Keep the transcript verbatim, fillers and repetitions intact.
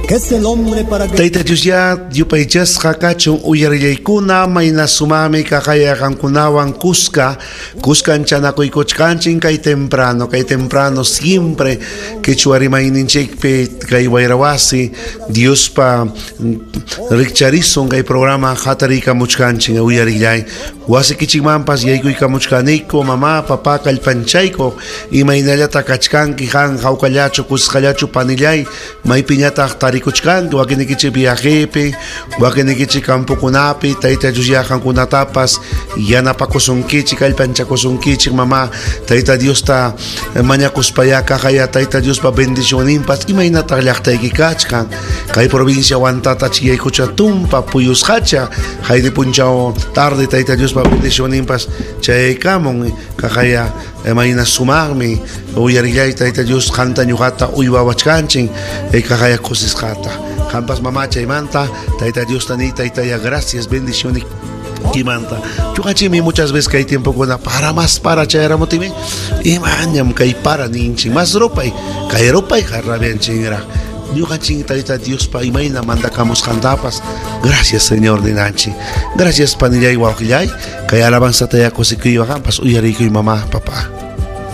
¿Qué es el hombre para que Tayta Dios ya yupaychasqa kachun uyarillaykuna mayna sumami kaqaya qamkunawan kuska kuskan chanakuykuchkanchin kay temprano kay temprano siempre quechua rimayninchikpi kay wayrawasi Diospa rikcharisun kay programa hatariykamuchkanchin uyarillay wasikichikmanpas yaykuykamuchkaniku mamá papá kallpanchayku imaynallata kachkanki qan hawkallachu kusqallachu panillay maypiñataq tarikuchkanki wakinikichik viajepi wakinikichik campokunapi Tayta Dios ya qankunatapas yanapakusunkichik kallpanchakusunkichik mamá Tayta Diosta mañakuspaya kaqaya Tayta Diospa bendicionninpas imaynataq llaqtayki kachkan kay provincia Huantata chiyaykucha tumpa puyusqacha haydi punchaw tarde Tayta Diospa bendicionninpas chayaykamun kaqaya mayna sumaqmi uyarillay Tayta Dios qanta ñuqata uywawachkanchin kaqaya kusisqata qampas mamá chaymanta Tayta Diosta ni Taytaya gracias bendiciones kimanta ñuqanchikmi muchas veces kay tiempokuna para más para chayramutimi imañam kay para ninchik más rupay kay rupayqa rabianchinraq ñuqanchik Tayta Diospa imayna mandakamusqantapas gracias Señor ninanchik gracias panillay wawqillay kay alabanzata kusikuywan qampas uyariykuy mamá papá.